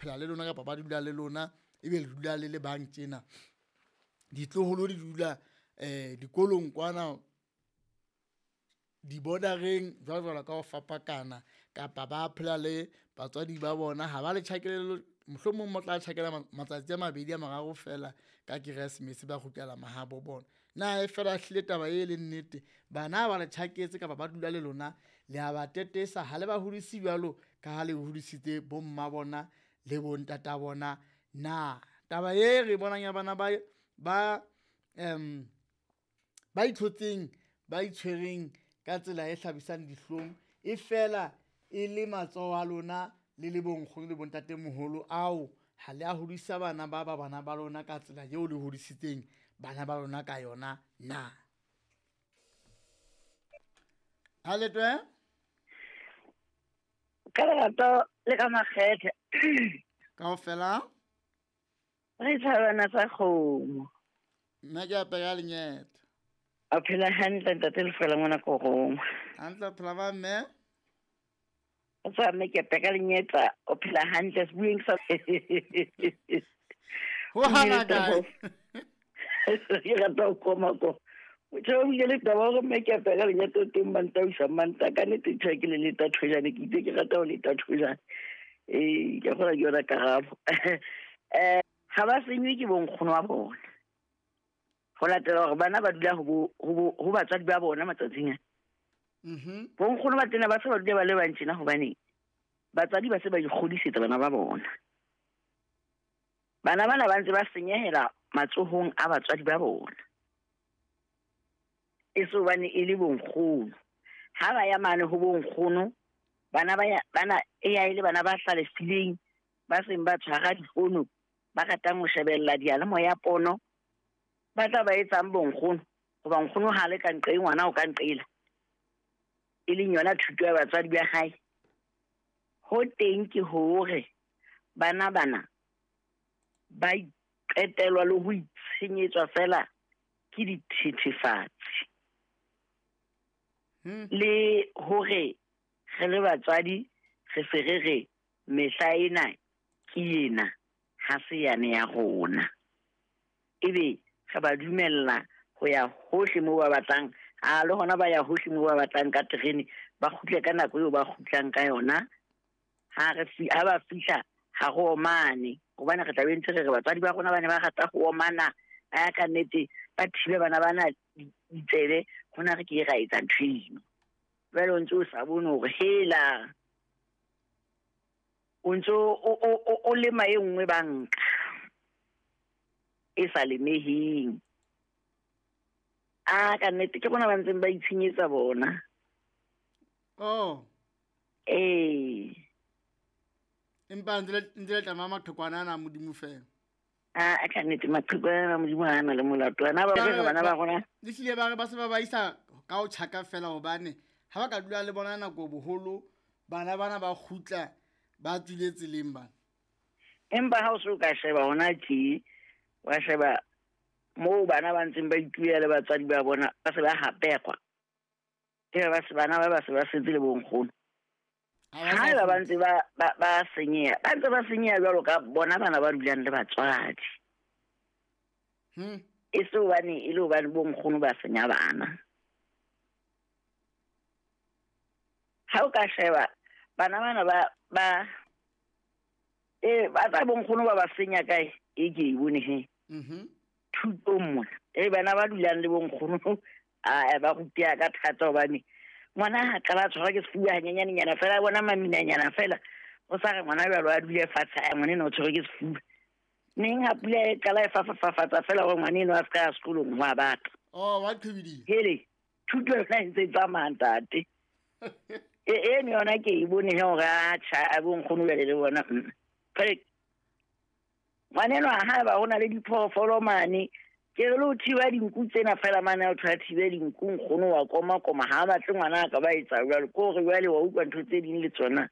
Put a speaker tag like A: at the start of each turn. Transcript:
A: Phela le lona kapa ba dula le lona, ebe le dula le le bang tjena. Ditloholo di dula dikolong kwana di-border-eng jwalo jwalo ka ho fapakana, kapa ba phela le batswadi ba bona ha ba le tjhakele, mohlomong ba tla tjhakela matsatsi a mabedi a mararo feela ka keresemese ba kgutlela mahabo bona. Na e fela ehlile taba e leng nnete, bana ha ba le tjhaketse kapa ba dula le lona le a ba tetesa ha le ba hodise jwalo ka ha le hodisitse bomma bona le bontata bona na? Taba e re bonang ya bana ba ba ithotseng, ba itshwereng ka tsela e hlabisang dihlong, e fela e le matsoho a lona le le bonkgono le bontatemoholo ao ha le a hodisa bana ba ba bana ba lona ka tsela eo le hodisitseng bana ba lona ka yona na? Ha letwe?
B: Ka lerato le ka makgethe.
A: Kaofela?
B: Re thabana tsa kgomo.
A: Nna ke apere lenyetho.
B: A phela hantle ntate Lefela ngwana korong.
A: Hantle phela ba mme?
B: O tswa mme ke apere lenyetsa, o phela hantle sebueng sa.
A: Ho hana kae?
B: Ke rata ho koma ko. Motho o buile le taba hore mme ke apere lenyetsa teng manta o isa manta ka nnete ntho ke le leta thojane ke itse ke rata ho leta thojane. Ke kgona ke yona karabo. Ha ba senywe ke bonkgono wa bona. Ho latela hore bana ba dula ho batswadi ba bona matsatsing a. Bonkgono ba tena ba se ba dula ba le bang tjena hobane batswadi ba se ba ikgodisetsa bana ba bona. Bana bana ba ntse ba senyehela matsohong a batswadi ba bona. E se hobane e le bonkgono. Ha ba ya mane ho bonkgono, bana ba ya, bana e ya e le bana ba hlalefileng, ba seng ba tshwara difono, ba ratang ho shebella diyalemoya pono, ba tla ba etsang bonkgono, hoba nkgono ha le ka nqe ngwana o ka nqela. E leng yona thuto ya batswadi ba hae. Ho teng ke hore bana bana ba iqetelwa le ho itshenyetswa fela ke dithethefatsi. Le hore re le batswadi re se re re mehla ena ke ena, ha se yane ya rona. Ebe re ba dumella ho ya hohle moo ba batlang, a le hona ba ya hohle moo ba batlang ka terene, ba kgutle ka nako eo ba kgutlang ka yona. Ha re ha ba fihla ha re omane, hobane re tla be ntse re re batswadi ba rona ba ne ba rata ho omana, a ya ka nnete ba thibe bana bana ditsebe, hona re ke ra etsa ntho eno. Jwale o ntse o sa bone hore hela o ntse o lema e nngwe banka e sa lemeheng. A ka nnete ke bona ba ntseng ba itshenyetsa bona.
A: Oh.
B: Ee.
A: Empa ntse le tlama maqhekwana ana a Modimo fela.
B: A ka nnete maqhekwana ana a Modimo ha ana le molato. Ana ba re bana ba rona.
A: Le hlile ba re ba se ba ba isa ka ho tjhaka fela hobane ha ba ka dula le bona nako boholo, bana bana ba kgutla ba tswile tseleng bana.
B: Empa ha o se o ka sheba hona tje, wa sheba moo bana ba ntseng ba itulela le batswadi ba bona, ba se ba hapekwa. Ebe ba se bana ba ba se ba setse le bonkgono.
A: Ha
B: ba ba ntse ba senyeha, ba ntse ba senyeha jwalo ka bona bana ba dulang le batswadi. E se hobane e le hobane bonkgono ba senya bana. Ha o ka sheba bana bana ba ba tsa bonkgono ba ba senya kae, e ke e bone he. Thutong mona. Bana ba dulang le bonkgono, a ba ruteha ka thata hobane ngwana ha qala a tshwarwa ke sefuba hanyenyanenyana fela, a bona maminanyana fela, o sa re ngwana jwalo a dule fatshe, a ngwana enwa o tshwerwe ke sefuba. Neng ha pula e qala e fafafafatsa fela hore ngwana enwa a se ka ya sekolong, ho a batla.
A: Oh, wa qhibidiha.
B: Hele, thuto yona e ntse e tsamaya ntate. Eno yona ke e bone he hore a tjha, a bonkgono jwale le bona. Jwale, ngwana enwa ha eba ho na le diphoofolo mane, ke re le ho thiba dinku tsena fela mane, ha o thola thibe dinku, nkgono wa koma koma, ha a batle ngwana a ka ba etsa jwalo. Ke hore jwale wa utlwa ntho tse ding le tsona.